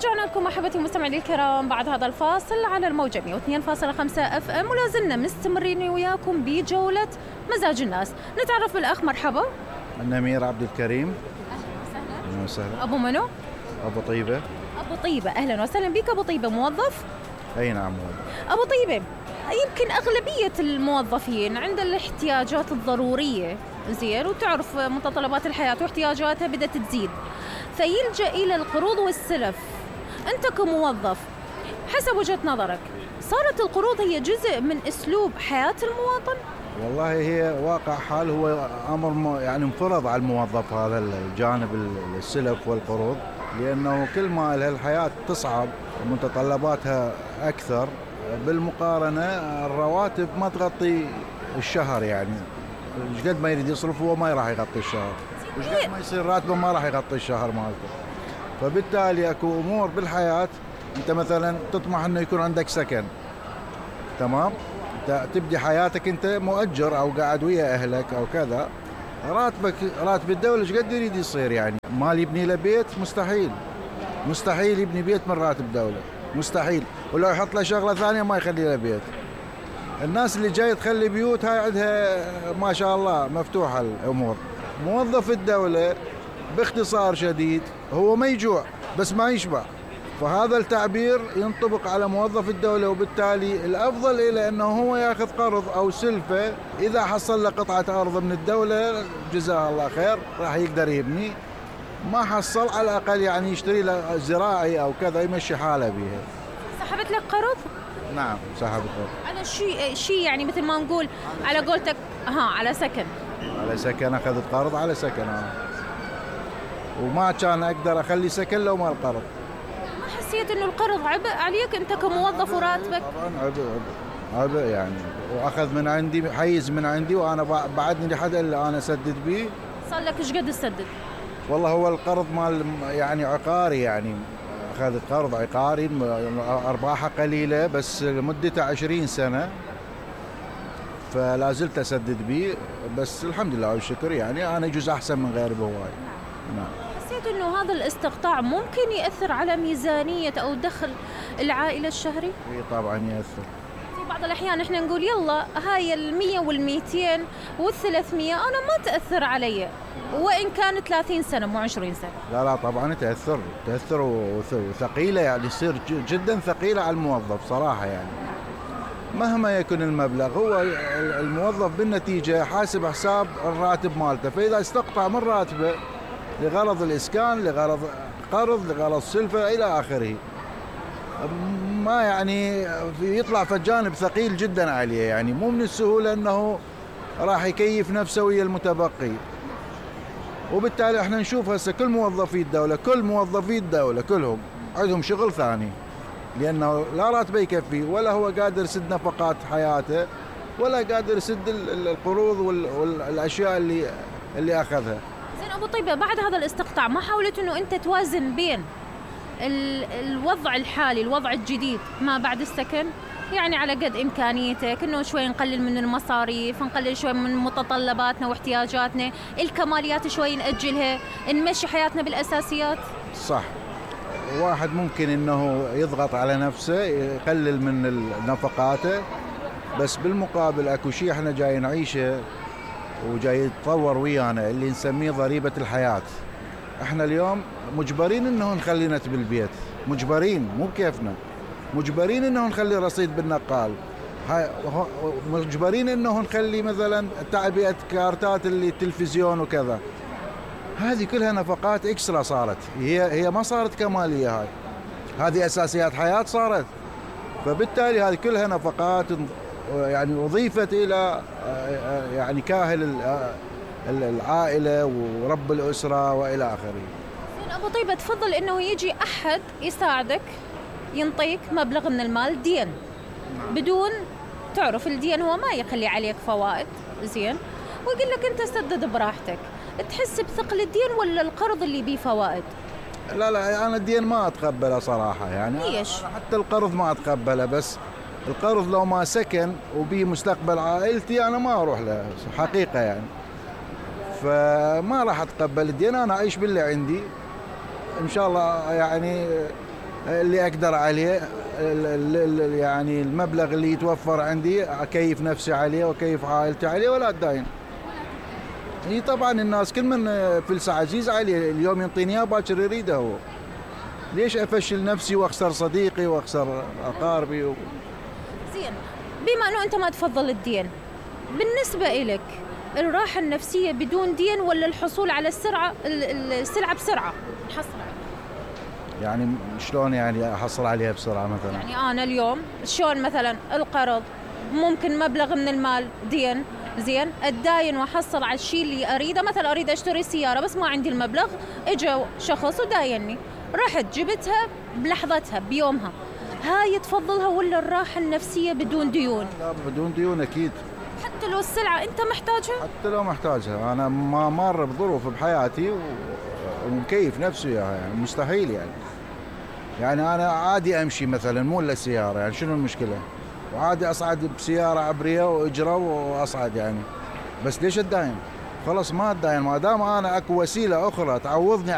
رجعنا لكم احبتي المستمعين الكرام بعد هذا الفاصل على الموجة 102.5 اف ام، ولا زلنا مستمرين وياكم بجولة مزاج الناس. نتعرف بالاخ. مرحبا. النمير عبد الكريم. اهلا وسهلا. ابو منو؟ ابو طيبة. ابو طيبة، اهلا وسهلا بك ابو طيبة. موظف؟ اي نعم موظف. ابو طيبة، يمكن اغلبية الموظفين عند الاحتياجات الضرورية زين، وتعرف متطلبات الحياة واحتياجاتها بدأت تزيد، فيلجأ إلى القروض والسلف. أنت كموظف حسب وجهة نظرك صارت القروض هي جزء من أسلوب حياة المواطن؟ والله هي واقع حال، هو أمر يعني انفرض على الموظف هذا الجانب السلف والقروض، لأنه كل ما الحياة تصعب ومتطلباتها أكثر، بالمقارنة الرواتب ما تغطي الشهر، يعني ايش قد ما يريد يصرف هو ما راح يغطي الشهر، ايش قد ما يصير راتبه ما راح يغطي الشهر مالته. فبالتالي اكو امور بالحياه، انت مثلا تطمح انه يكون عندك سكن، تمام، انت تبدي حياتك انت مؤجر او قاعد ويا اهلك او كذا، راتب الدوله ايش قد يريد يصير؟ يعني مال يبني له بيت مستحيل يبني بيت من راتب دوله، مستحيل، ولو يحط له شغله ثانيه ما يخلي له بيت. الناس اللي جاي تخلي بيوت هاي عندها ما شاء الله مفتوحة الأمور. موظف الدولة باختصار شديد هو ما يجوع بس ما يشبع، فهذا التعبير ينطبق على موظف الدولة، وبالتالي الأفضل إلى أنه هو يأخذ قرض أو سلفة. إذا حصل له قطعة أرض من الدولة جزاه الله خير راح يقدر يبني، ما حصل على الأقل يعني يشتري له زراعي أو كذا يمشي حاله بيها. سحبت لك قرض؟ نعم سحبت. على شيء يعني مثل ما نقول على قولتك على سكن أخذت قرض على سكن وما كان أقدر أخلي سكن لو ما القرض. ما حسيت إنه القرض عبء عليك أنت كموظف وراتبك؟ طبعا عبء يعني، وأخذ من عندي حيز من عندي، وأنا بعدني لحد اللي أنا أسدد به. صار لك إيش قد تسدد؟ والله هو القرض مال يعني عقاري، يعني أخذت قرض عقاري أرباحه قليلة بس مدته 20 سنة، فلا زلت أسدد به، بس الحمد لله والشكر يعني أنا جزء أحسن من غيري بهواي. نعم. حسيت إنه هذا الاستقطاع ممكن يأثر على ميزانية أو دخل العائلة الشهري؟ إيه طبعا يأثر. في بعض الأحيان إحنا نقول يلا هاي 100 وال200 وال300 أنا ما تأثر علي، وإن كان 30 سنة مو 20 سنة. لا طبعا تأثر وثقيلة، يعني يصير جدا ثقيلة على الموظف صراحة. يعني مهما يكون المبلغ، هو الموظف بالنتيجة حاسب حساب الراتب مالته، فإذا استقطع من راتبه لغرض الإسكان، لغرض قرض، لغرض سلفة إلى آخره، ما يعني يطلع في جانب ثقيل جدا عليه، يعني مو من السهولة أنه راح يكيف نفسه ويا المتبقي. وبالتالي احنا نشوف هسه كل موظفي الدولة كلهم عندهم شغل ثاني، لأنه لا راتبه يكفي، ولا هو قادر يسد نفقات حياته، ولا قادر يسد القروض والأشياء اللي أخذها. زين أبو طيبة، بعد هذا الاستقطاع ما حاولت إنه أنت توازن بين الوضع الحالي الوضع الجديد ما بعد السكن؟ يعني على قد إمكانيتك إنه شوي نقلل من المصاريف، نقلل شوي من متطلباتنا واحتياجاتنا، الكماليات شوي نأجلها، نمشي حياتنا بالأساسيات. صح، واحد ممكن إنه يضغط على نفسه يقلل من نفقاته، بس بالمقابل أكو شيء إحنا جاي نعيشه وجاي يتطور ويانا اللي نسميه ضريبة الحياة. إحنا اليوم مجبرين إنه نخلي نت بالبيت، مجبرين مو بكيفنا، مجبرين إنه نخلي رصيد بالنقال، مجبرين إنه نخلي مثلا تعبئة كارتات اللي التلفزيون وكذا. هذه كلها نفقات إكسترا صارت، هي ما صارت كمالية، هذه أساسيات حياة صارت. فبالتالي هذه كلها نفقات يعني أضيفت إلى يعني كاهل العائلة ورب الأسرة وإلى آخره. أبو طيبة، تفضل إنه يجي أحد يساعدك ينطيك مبلغ من المال دين، بدون تعرف الدين هو ما يخلي عليك فوائد، زين، ويقول لك أنت سدد براحتك. تحس بثقل الدين ولا القرض اللي بيه فوائد؟ لا أنا الدين ما أتقبله صراحة، يعني ليش؟ حتى القرض ما أتقبله، بس القرض لو ما سكن وبيه مستقبل عائلتي أنا ما أروح له حقيقة، يعني فما راح أتقبل الدين. أنا أعيش باللي عندي إن شاء الله، يعني اللي اقدر عليه، يعني المبلغ اللي يتوفر عندي اكيف نفسي عليه واكيف عائلتي عليه ولا اتداين. اي طبعا الناس كل من فلسه عزيز عليه، اليوم ينطيني اياه باكر يريده هو. ليش افشل نفسي واخسر صديقي واخسر اقاربي زين، بما انه انت ما تفضل الدين، بالنسبه إلك الراحه النفسيه بدون دين ولا الحصول على السلعه بسرعه نحصل عليها؟ يعني شلون يعني احصل عليها بسرعه مثلا؟ يعني انا اليوم شلون مثلا القرض ممكن مبلغ من المال دين، زين اتداين واحصل على الشيء اللي اريده، مثلا اريد اشتري سياره بس ما عندي المبلغ، اجى شخص ودايني، رحت جبتها بلحظتها بيومها، هاي تفضلها ولا الراحه النفسيه بدون ديون؟ لا بدون ديون اكيد. حتى لو السلعه انت محتاجها؟ حتى لو محتاجها، انا ما مر بظروف بحياتي ومكيف نفسي اياها، يعني مستحيل يعني انا عادي امشي مثلا مو الا سياره، يعني شنو المشكله؟ وعادي اصعد بسياره عبريه واجره واصعد يعني، بس ليش اتداين؟ خلص ما اتداين، ما دام انا اكو وسيله اخرى تعوضني